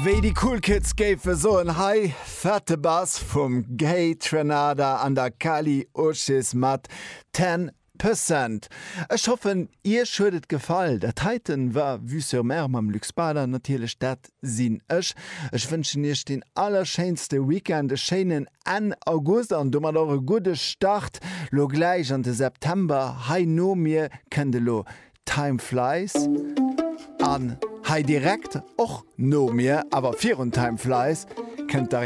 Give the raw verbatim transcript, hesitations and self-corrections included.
Wéi déi cool Kids géife soen hei fette Bass vum Kaytranada an der Kali Uchis mat Ten Percent. Ech hoffen iech huet et gefall. Dat heiten war Vue sur Mer mam Luc Spader natierlech dat sinn ech. Ech wënschen iech den allerschéinste Weekend, e schéinen Enn August an domat och e gudde Start lo gläich an de September. Hei no mir kënnt elo Time Flies an hei direkt och no mir, awer virun Time Flies kënnt